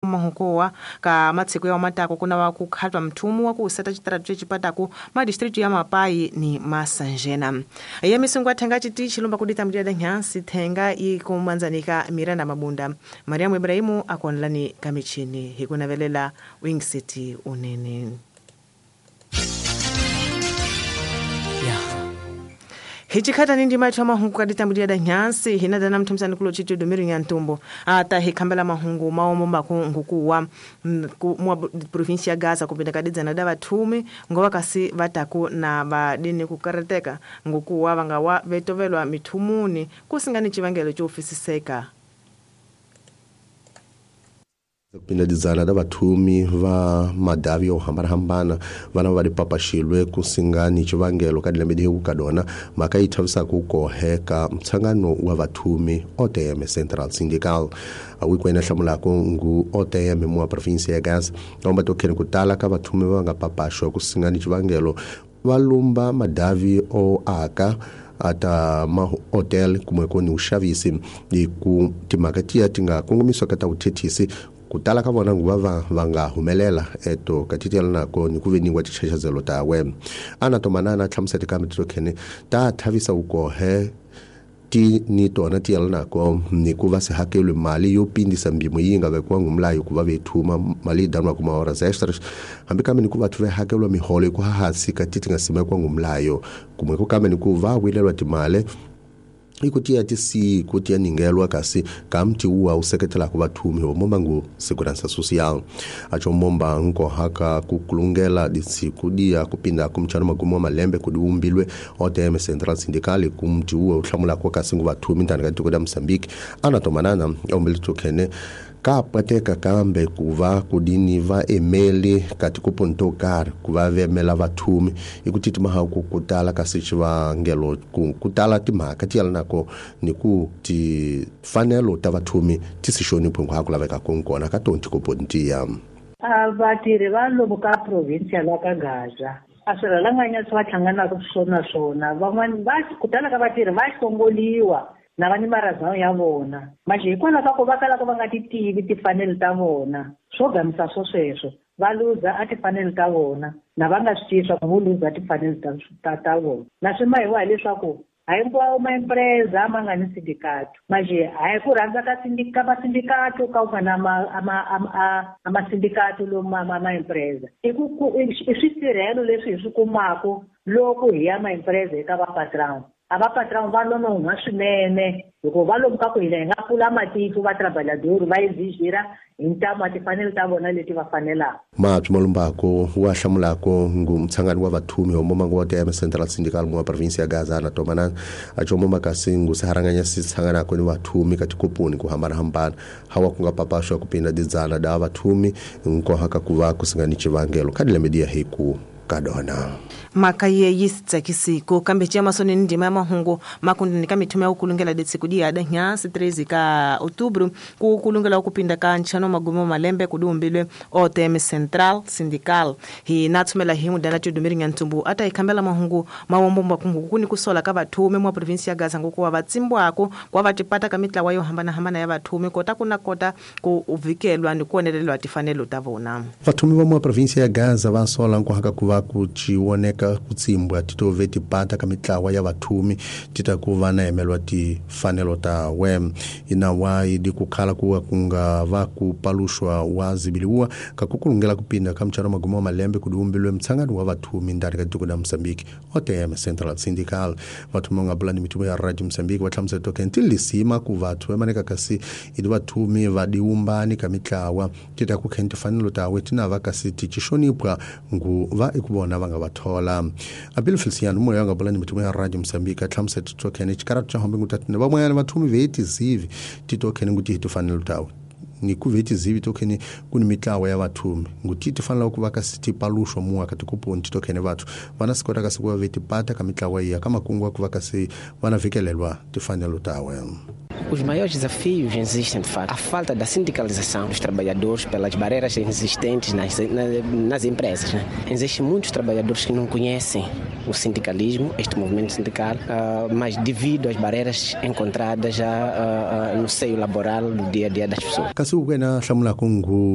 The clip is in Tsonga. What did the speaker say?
Mahukowa ka matsiko ya matako kuna wa kukhatwa mthumu wa kuseta chitaratu chechipataku madistritu ya Mapai ni Masanjena. Ya misungu athenga chiti chilomba kudita mjada nyansi thenga ikumanzanika Miranda Mabunda. Mariamu Ibrahimu akonlani kamichini hikunavelela Wing City unene. Hichikhata nindi maithu mahungu kaditambulia da nyansi hinadana mthumsani kulo chitu domiru nyantumbo ata hikhambela mahungu maomo makungukuwa mwa provinsia ya Gaza kupinda kadidzana da vathumi ngoba kasi vataku na vadini kukarateka ngukuwa vangawa vetovelwa mithumuni kusingani chivangelo chofisiseka. Kupinda dizana da vathumi va madavi yo hambanahambana vana va dipapaxilwe kusingani chivangelo ka dilembe dihi kukadona mhaka yi thavisaka ku koheka mtshangano wa vathumi OTM Central Syndical awikwena hlamulako ngu OTM mwa provinsia ya Gaza omba tokheni ku tala ka vathumi va nga papaxwa kusingani chivangelo va lumba madavi o aka ata mahotel kumwe koni uxavisi hi ku timhaka tiya ti nga kongomisiwa ka ta vuthethisi ku tala ka vona nguva va nga humelela eto ka titela nako ni ku veniwa tichachazelo tawe ana tomanana hlamusela kambe titokhene ta thavisa ukohe ti ni tona ti yela nako ni ku va se hakelwe mali yo pindisa mbimo yi nga vekiwa ngumlayo ku va vethuma mali yi danwa kuma horas extras hambi kambe ni ku vathu ve hakelwa miholo ku hansi ka ti ti nga simekiwa ngumlayo kumwe ku kambe ni ku va wilelwa timali ikuti ya tisi kuti ya ningelwa kasi kamti uwa useketela ku vathumi homomba ngu segurança social acho momba nkohaka kukulungela disiku dia kupinda kumchano magumu wa malembe kudiumbilwe OTM Central Syndical kumti uwa uhlamula kwa kasi ngu vathumi ndani ka tiko la Mozambique anatomanana ombele tokhene kapateka kambe kuva kudini va emeli kati kupontokar kuva vemela vathumi ikuti timahaku kutala kasi xivangelo kutala timhaka ti yala nako ni ku tifanelo ta vathumi ti si xoniphi hinkwako lavekaka kona ka tona tikopontiya. Vatirhi va lomu ka provinsia la ka Gaza a swirhalanganya swi va hlanganaka swona swona van'wani va ku tala ka vatirhi va hlongoliwa na va ni marazano ya vona manje hikwalaho ka ku va kalaka va nga ti tivi timfanelo ta vona swo gamisa swo sweswo va luza a timfanelo ta vona na va nga swi tivi swa ku vo luza timfanelo ta vona na swi mahiwa hileswaku a hinkwawo maempresa ma nga ni sindikato manje hayi ku rhandza ka ka masindikato ka ku nga na a masindikato lomu maempresa i ku i swisirhelo leswi hi swi kumaka loko hi ya maempresa eka vapatron a va patron va nonohwa swinene hikuva va lomu ka ku hina hi nga pfula matiko va trabalhador va exigir hi ntamu a timfanelo ta vona leti va fanelaka. Mapyi Malumbako wa hlamulako ngu mtshangano wa vathumi homomango wa TM Central Syndical mwa provinsia ya Gaza na tomanana acho kasi ngu siharanganya sitshanganako ni vathumi ka tikoponi ku hambanahambana hawa ku nga papaxwa kupinda didzana da vathumi nkohaka ku va kusingani chivangelo ka dilembe diya hi ku kadona. Mhaka ye yi tsakisiko kambe ciya masoni ni ndima ya mahungu makundini ka mithumu ya kukulungela detsiku diya da nyansi 13 ka outubro ku kulungela kupinda ka nchano magumu malembe kudiumbilwe OTM Central Syndical hi natsumela hi mudana tudumiri nyantumbu ata ikhambela mahungu mawombo makungu kuni kusola ka vathumi mwa provinsia ya Gaza ngokuwa vatsimbwako kwa vatipata ka mitlawa yo hambanahambana ya vathumi kota kuna kota ku uvikelwa ni kuonelelwa tifanelo ta vona. Vathumi va mwa provinsia ya Gaza va sola nkohaka ku va ku chiwoneka kutsimbwa titove tipata ka mitlawa ya vathumi tita ku va na emelwa tifanelo ta we inawa idi kukhala kuwa kunga va ku paluxwa wa zibiliwa ka kukulungela kupinda ka mchano magumu wa malembe kudiumbilwe mtshangano wa vathumi ndani ka tiko la Mozambique OTM Central Syndical vathumi nga bulani mithumo ya Radio Mozambique va hlamusela token tilisima ku vathu emaneka kasi idi vathumi va diumbani ka mitlawa tita ku khen tifanelo ta we tina va kasi ti xonipwa ngu va ikuvona va nga va thola. Abel Feliciano moya nga bulani mithumo ya Radio Mozambique a hlamusela token xikaratu xa hombe ngutatini van'wanyana vathumi ve tizivi titokhene nguti hi tifanelo tawe ni ku ve tizivi tokhene ku ni mitlawa ya vathumi nguti ti fanela ku va kasi ti paluxwa muwa ka tikoponi titokhene vathu vana si kota kasi ku va ve tipata ka mitlawa iya ka makungu ku va kasi vana vikelelwa tifanelo tawe. Os maiores desafios existem, de fato. A falta da sindicalização dos trabalhadores pelas barreiras existentes nas empresas, né? Existem muitos trabalhadores que não conhecem o sindicalismo, este movimento sindical, mas devido às barreiras encontradas já no seio laboral do dia a dia das pessoas. Kasi ukwena hlamula kungu